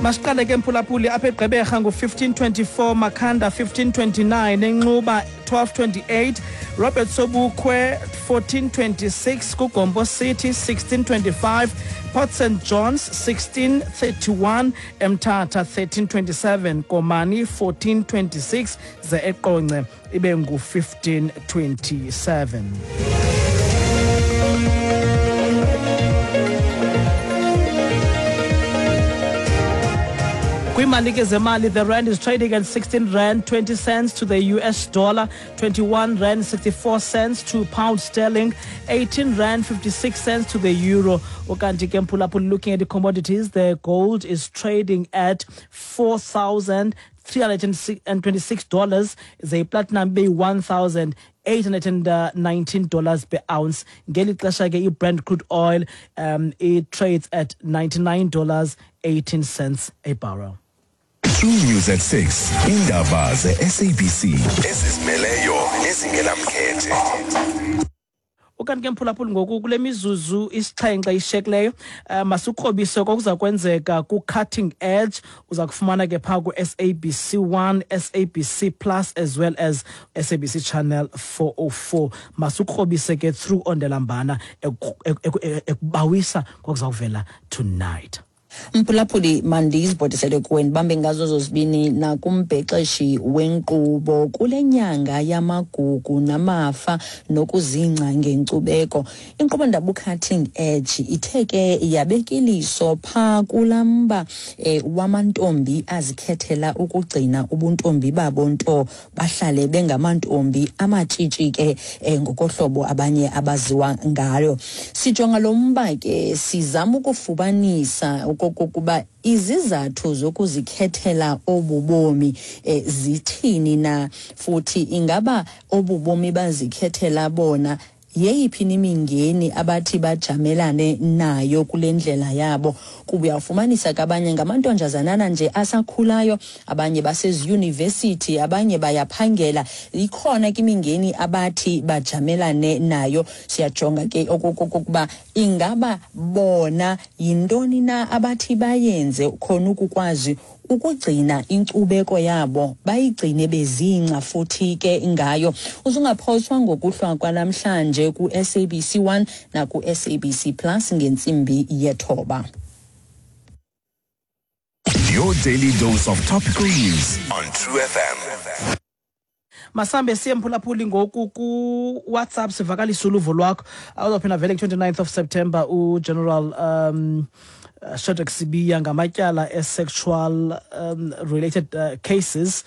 Masiqale ke mphulaphuli apha eGqeberha ngu-1524, Makhanda 1529, eNxuba 1228, Robert Sobukwe 1426, kuGompo City 1625, Port St Johns 1631, Emthatha 1327, Komani 1426, ze eQonce ibe ngu-1527. Kwiimali ke zemali, the rand is trading at 16 rand 20 cents to the US dollar, 21 rand 64 cents to pound sterling, 18 rand 56 cents to the euro. Ukanti ke mphulaphula, looking at the commodities, the gold is trading at $4,326, ze platinum be $1,819 per ounce. Ngeli xesha ke i-Brent crude oil it trades at $99.18 a barrel. True News at 6. Indaba ze-SABC ezizimeleyo nezingenamkhethe. Ukanti ke mphulaphuli, ngoku kule mizuzu isixhenxe ishekileyo, masikrobise kokuza kwenzeka ku-Cutting Edge. Uza kufumana ke phaa ku-SABC 1, SABC Plus as well as SABC Channel 404. Masikrobise ke through ondelambana ekubawisa kokuza kuvela tonight. Mphulaphuli, mandizibhotisele kuwe, ndibambe ngazo zozibini nakumbhexeshi wenkqubo. Kule nyanga yamagugu namafa nokuzingca ngenkcubeko, inkqubo ndaba uCutting Edge ithe ke yabeka iliso phaa kulaa mba wamantombi azikhethela ukugcina ubuntombi babo, nto bahlale bengamantombi amatshitshi ke ngokohlobo abanye abaziwa ngayo. Sijonga lo mba ke, sizama ukufumanisa okokuba izizathu zokuzikhethela obu bomi zithini na, futhi ingaba obu bomi bazikhethela bona, yeyiphi imingeni abathi bajamelane nayo kule ndlela yabo, kuba uyawufumanisa ke abanye ngamantonjazanana nje asakhulayo, abanye baseziyunivesithi, abanye bayaphangela, ikhona ke imingeni abathi bajamelane nayo. Siyajonga ke okokuba ingaba bona yintoni na abathi bayenze khona ukukwazi ukugcina inkcubeko yabo, bayigcine bezingca futhi ke ngayo. Uzungaphoswa ngokuhlwa kwanamhlanje ku-SABC 1 naku-SABC Plus ngentsimbi yethoba. Your daily dose of topical news on True FM. Masambe siye mphulaphuli ngoku ku-WhatsApp, sivakalise uluvo lwakho. Awuzawuphinda vele nge-29th of September uGeneral Shadrack Sibiya ngamatyala e-sexual related cases,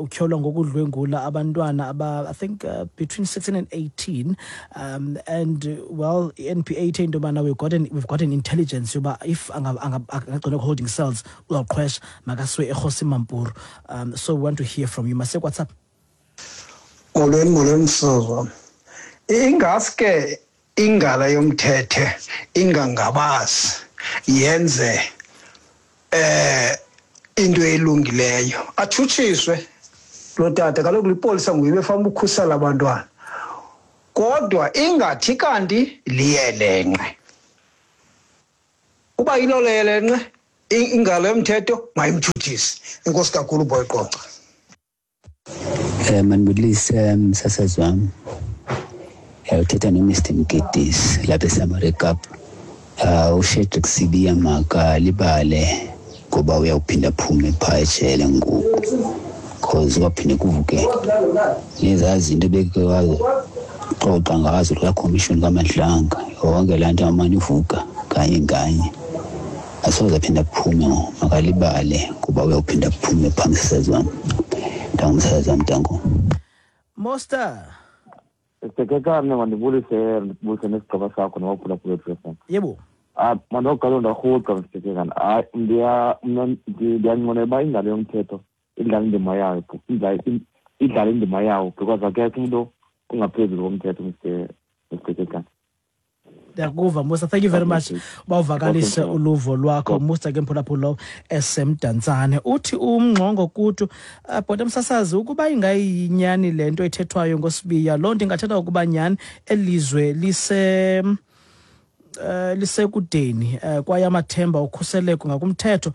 utyholwa ngokudlwengula abantwana aba, I think, between 16 and 18, and well, i-NPA ithe into yobana we've got an intelligence yoba if angagcinwa holding cells uzawuqhwesha, makasiwe eKgosi Mampuru. So we want to hear from you. Masiye WhatsApp. Molweni, molweni, msasazi wam. Ingaske ingalo yomthetho ingangabazi yenze into elungileyo, atshutshiswe lo tata. Kaloku lipolisa nguye befana ukhusela abantwana, kodwa ingathi kanti liyelenqe. Uba yilo leyelenqe, ingalo yomthetho mayimtshutshise. Enkosi kakhulu, boyiqonca. Mandibulise msasazi wam. Uthetha noMr Mgidisi lapha eSamare Kapa. UShadrack Sibiya makalibale ngoba uyawuphinda aphume phaa ejele ngoku, cause kwaphinde kuvuke nezaa zinto beke waxoxa ngazo laa commission kaMadlanga. Yonke laa nto amane ivuka kanye kanye, asoze aphinde aphume. Makalibale ngoba uyawuphinda aphume phaa, msasazi wam. Ntango, msasazi wam, ntango. Moster. Sekekane, mandibulise, ndibulise nesigqeba sakho nabaphulaphula FM. Yebo. Ah, mandoqala ndarhuqa, Msekekane. Hayi, ndiya mna ndiyanqwenela uba ingalo yomthetho idlala indima yayo, idlala indima yawo, because akekho umuntu ongaphezulu komthetho, Mr Msekekane. Ndiyakuva, Musa. Thank you very much bawuvakalise uluvo lwakho, Musa. Ke mphulaphula esemdantsane uthi umngxongo kutu, bhota msasazi, ukuba ingayinyani le nto ethethwayo ngoSibiya, loo nto ingathetha ukuba nyhani elizwe lise Lisekudeni kwaye amathemba okhuseleko ngakumthetho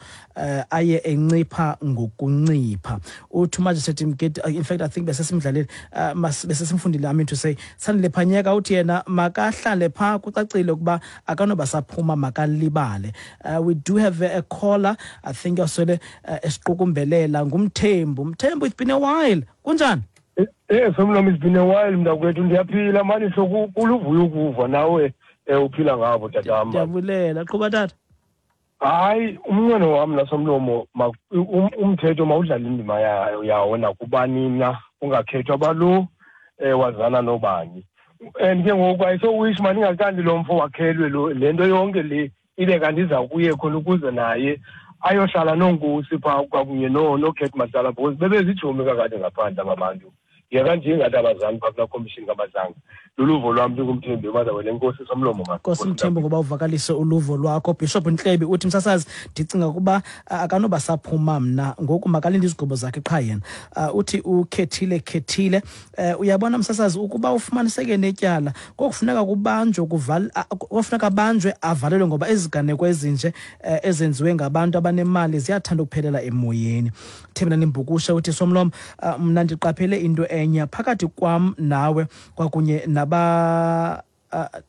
aye encipha ngokuncipha. Uthi uMagistrate Mgidi, in fact I think besesimdlalile, besesimfundile, I mean to say, Sandile Phanyeka uthi yena makahlale phaa, kucacile ukuba akanoba saphuma, makalibale. We do have a caller, I think osele esiqukumbelela, nguMthembu. Mthembu, it's been a while, kunjani? Somlomo, it's been a while, mntakwethu. Ndiyaphila mani, so kuluvuyo ukuva nawe uphila ngabo, tatam. Ndiyabulela, qhuba tata. Hayi, umnqweno wam nasomlomo, umthetho mawudlale indima yawo nakubani na, ungakhethwa balo wazana nobani. And ke ngoku ayisowish mani ingakanti lo mfo wakhelwe lo le nto yonke le ibe kanti iza kuye khona ukuze naye ayohlala noonkosi phaa kwakunye noCat Matlala, because bebezijomi kakade ngaphandle aba bantu. Yeka nje ingathi abazali phaa kulaa commission kaMadlanga. Luluvo lwam, ndinguMthembi Mazawele. Enkosi, somlomo. Nkosi Mthembu ngoba uvakalise uluvo lwakho. Bishop Ntlebi uthi, msasazi, ndicinga ukuba akanoba saphuma mna ngoku, makalinde izigwebo zakhe qha yena. Uthi ukhethile khethile, uyabona msasazi, ukuba ufumaniseke netyala kokufuneka kubanjwe kokufuneka abanjwe avalelwe, ngoba iziganeko ezinje ezenziwe ngabantu abanemali ziyathanda ukuphelela emoyeni. Thembelani Mbukusha uthi, somlomo, mna ndiqaphele into enye phakathi kwam nawe kwakunye naba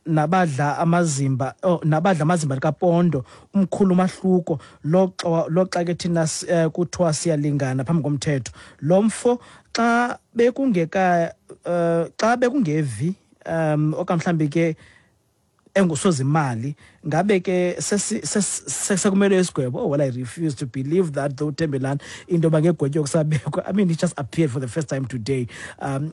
nabadla amazimba, oh, nabadla amazimba likaPondo, umkhulu umahluko loxa ke thina kuthiwa siyalingana phambi komthetho. Lo mfo xa bekungeka xa bekungevi okanye mhlambi ke engusozimali, ngabe ke sekumele isigwebo. Oh well, I refuse to believe that though, Thembelani, into yoba ngegwetywe kusabekwa. I mean, he just appeared for the first time today.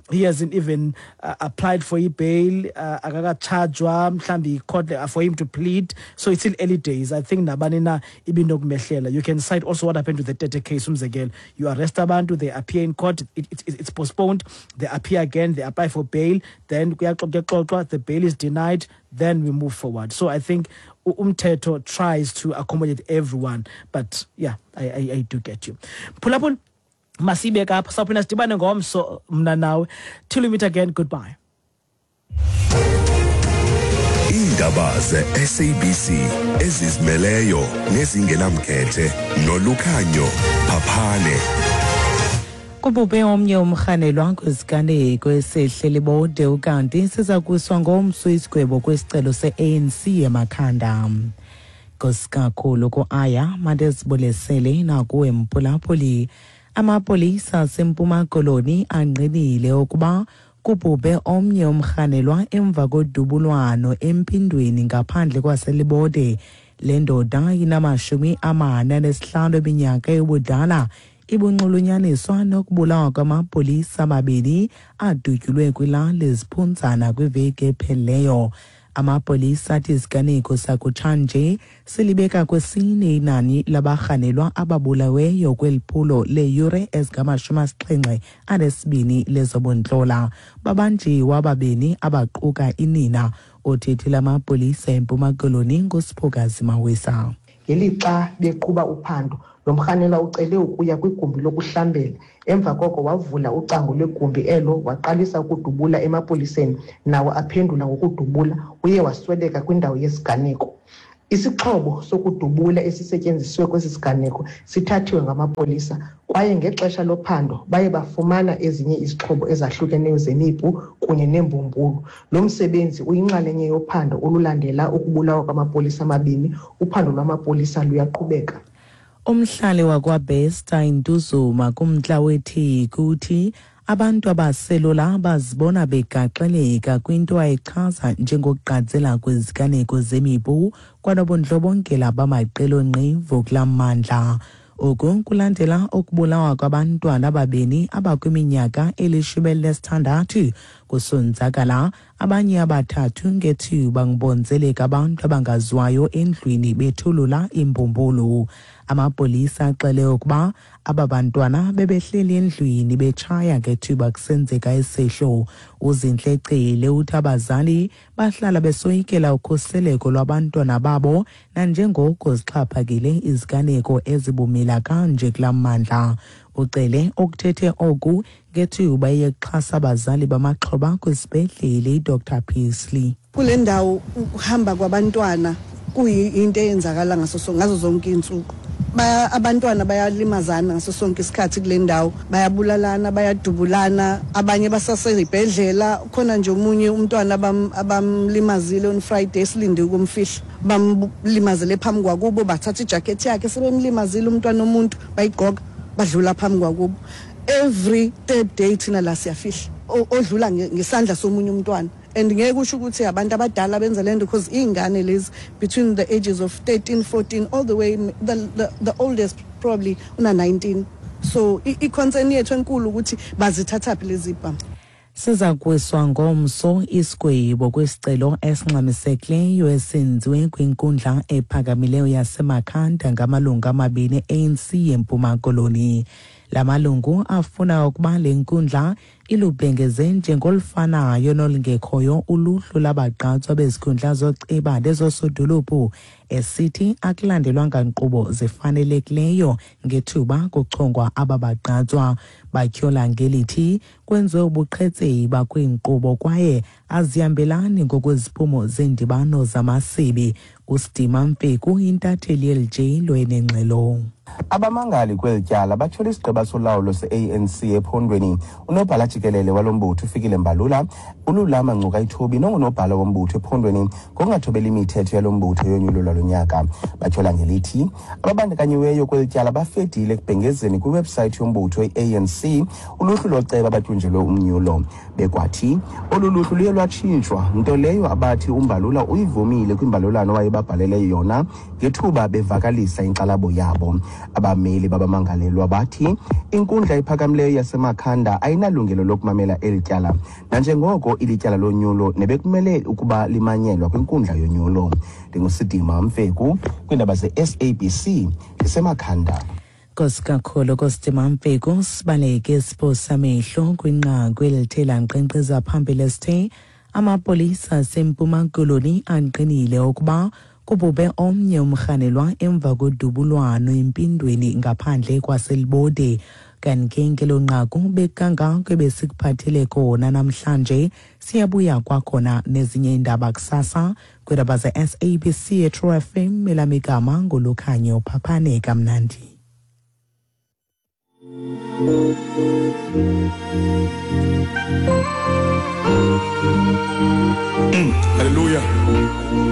He hasn't even applied for i-bail, akakatshajwa mhlawumbi i-court for him to plead, so it's still early days. I think nabani na ibinokumehlela. You can cite also what happened to the Tete case, umzekelo. You arrest abantu, they appear in court, it's postponed, they appear again, they apply for bail, then kuyaxoxwa, the bail is denied, then we move forward. So I think umthetho tries to accommodate everyone, but yeah, I do get you. Phulaphula, masibe kapha, sawuphinda sidibane ngomso mna nawe. Till we meet again, goodbye. Iindaba ze-SABC ezizimeleyo nezingenamkhethe noLukhanyo Phaphane. Kubhubhe omnye umrhanelwa kwiziganeko esehle Libode, ukanti siza kuswa ngomso isigwebo kwisicelo se-ANC eMakhanda. Nkosi kakhulu ku-Aya mandizibulesele nakuwe mphulaphuli. Amapolisa aseMpuma Koloni angqinile ukuba kubhubhe omnye umrhanelwa emva kodubulwano eMpindweni ngaphandle kwaseLibode. Le ndoda inama-45 eminyaka yobudala ibunxulunyaniswa nokubulawa kwamapolisa amabini adutyulwe kwilali Ziphunzana kwiveki ephelileyo. Amapolisa athi isiganeko sakutshanje silibeka kwesine inani labarhanelwa ababulaweyo kweli phulo leeyure ezingama-72 lezobuntlola. Babanjiwe ababini abaquka inina. Othethela amapolisa eMpuma Koloni nguSiphokazi Mawisa. Ngelixa beqhuba uphando, lo mrhanelwa ucele ukuya kwigumbi lokuhlambela. Emva koko wavula ucango lwegumbi elo, waqalisa ukudubula emapoliseni, nawo aphendula ngokudubula. Uye wasweleka kwindawo yesiganeko. Isixhobo sokudubula esisetyenziswe kwesi siganeko sithathiwe ngamapolisa, kwaye ngexesha lophando baye bafumana ezinye izixhobo ezahlukeneyo zemipu kunye neembumbulu. Lo msebenzi uyinxalenye yophando olulandela ukubulawa kwamapolisa amabini. Uphando lwamapolisa luyaqhubeka. Umhlali wakwaBester iNtuzuma kumntla weTheku uthi abantu abaselula bazibona begaxeleka kwinto ayichaza njengokugqatsela kweziganeko zemipu kwanobundlobongela bamaqela onqevu kulaa mmandla. Oku kulandela ukubulawa kwabantwana ababini abakwiminyaka eli-16, kusonzakala abanye abathathu ngethuba ngibonzeleka abantu abangaziwayo endlwini bethulula imbumbulu. Amapolisa axele ukuba aba bantwana bebehleli endlwini betshaya ngethuba kusenzeka isehlo. UZintle Cele uthi abazali bahlala besoyikela ukhuseleko lwabantwana babo nanjengoko zixhaphakile iziganeko ezibumila kanje kulaa mmandla. Ucele okuthethe oku ngethuba eyekuxhasa abazali bamaxhoba kwisibhedlele iDr Pixley. Kule ndawo ukuhamba kwabantwana kuyinto eyenzakala ngaso ngazo zonke iintsuku. Abantwana bayalimazana ngaso sonke isikhathi kule ndawo, bayabulalana, bayadubulana, abanye basasezibhedlela. Khona nje omunye umntwana abamlimazile on Friday, silinde ukumfihla, bamlimazele phambi kwakubo, bathatha ijacket yakhe sebemlimazile umntwana omuntu, bayigqoka badlula phambi kwakubo. Every third day thina la siyafihla odlula ngesandla somunye umntwana. And ngeke kusho ukuthi abantu abadala benza lento, because iy'ngane lezi between the ages of 13, 14 all the way, the oldest probably una 19. So i-concern yethu enkulu ukuthi bazithathaphi lezi bhamu. Siza kuwiswa ngomso isigwebo kwisicelo esingxamisekileyo esenziwe kwinkundla ephakamileyo yaseMakhanda ngamalungu amabini e-ANC yeMpuma Koloni. La malungu afuna ukuba le nkundla ilubhengeze njengolufanayo nolungekhoyo uluhlu labagqatswa bezikhundla zoceba nezosodolophu, esithi akulandelwanga nkqubo zifanelekileyo ngethuba kuchongwa aba bagqatswa. Batyhola ngelithi kwenziwe ubuqhetseba kwiinkqubo kwaye azihambelani ngokweziphumo zeendibano zamasebe. Usidima Mfeku, intatheli yeli lwenengxelo. Abamangali kweli tyala batyhola isigqeba solawulo se-ANC ephondweni, unobhala jikelele walo mbutho uFikile Mbalula, uLulama Ngcukaitobi nongunobhala wombutho ephondweni ngokungathobeli imithetho yalo mbutho yonyulo lwalo nyaka. Batyhola ngelithi ababandakanyiweyo kweli tyala bafedile ekubhengezeni kwiwebhusayithi yombutho i-ANC uluhlu loceba abatyunjelwe umnyulo. Bekwathi olu luhlu luye lwatshintshwa, nto leyo abathi uMbalula uyivumile kwimbalulwano wayebabhalele yona ngethuba bevakalisa inkxalabo yabo. Abameli babamangalelwa bathi inkundla ephakamileyo yaseMakhanda ayinalungelo lokumamela eli tyala, nanjengoko ilityala lonyulo nebekumele ukuba limanyelwa kwinkundla yonyulo. NdinguSidima Mfeku kwiindaba ze-SABC ndiseMakhanda. Nkosi kakhulu kosidima Mfeku. Sibaleke isipho samehlo kwinqaku elithe lankqenkqeza phambili esithe amapolisa aseMpuma Koloni angqinile ukuba kubhubhe omnye umrhanelwa emva kodubulwano empindweni ngaphandle kwaseLibode. Kanti ke ngelo nqaku bekangako ebesikuphathele kona namhlanje. Siyabuya kwakhona nezinye iindaba kusasa kwiindaba ze-SABC eTrue FM. Elam igama nguLukhanyo. Phaphane kamnandi. Hallelujah.